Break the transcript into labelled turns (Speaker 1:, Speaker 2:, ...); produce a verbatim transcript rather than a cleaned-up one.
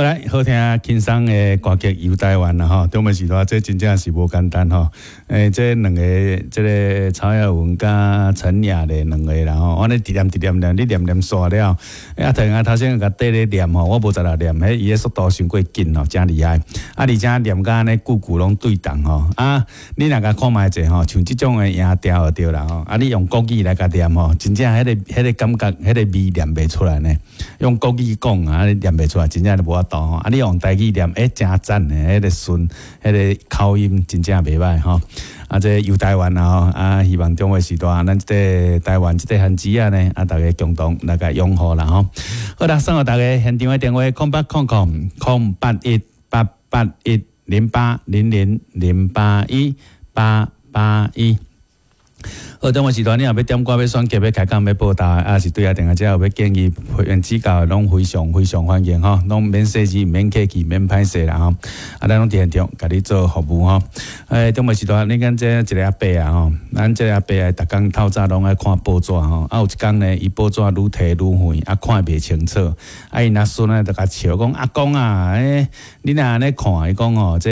Speaker 1: 好來，好聽輕鬆的歌曲《遊台灣》啦吼，中尾時段這真正是無簡單吼。欸，這兩个這个曹雅雯佮陳雅的兩个啦吼，我咧一念一念念，你念念煞了。啊，頭啊頭先共綴咧念吼，我無才來念，彼伊的速度傷過緊吼，誠厲害。啊，而且念甲按呢句句攏對仝吼。啊，你若共看覓者吼，像這種的音調就對啦吼。啊，你用國語來共念吼，真正彼个彼个感覺，彼個味念袂出來呢。用國語講啊，你念袂出來，真正就無法度吼。啊，你用台語念，欸，誠讚的，彼個順，彼個口音真正袂䆀吼。啊，這遊台灣啊吼，啊，希望中華時代，咱這个台灣這个番子仔呢，啊，大家共同來共擁護啦吼。好啦，送予大家現場的電話：空八空空空八一八八一零八零零零八一八八一。好，中午時段你若欲點歌、欲選曲、欲開講、欲報道，啊是對啊，電話這有欲建議、批評指教，攏非常非常歡迎吼，攏免細緻、免客氣、免歹勢啦吼。啊，咱攏佇現場共你做服務吼。欸，中午時段，你敢這一个阿伯啊吼，咱這个阿伯啊，逐工透早攏愛看報紙吼。啊，有一工呢，伊報紙愈提愈遠，啊，看袂清楚。啊，𪜶仔孫呢，就共笑講：阿公啊，欸，你若按呢看，伊講吼，這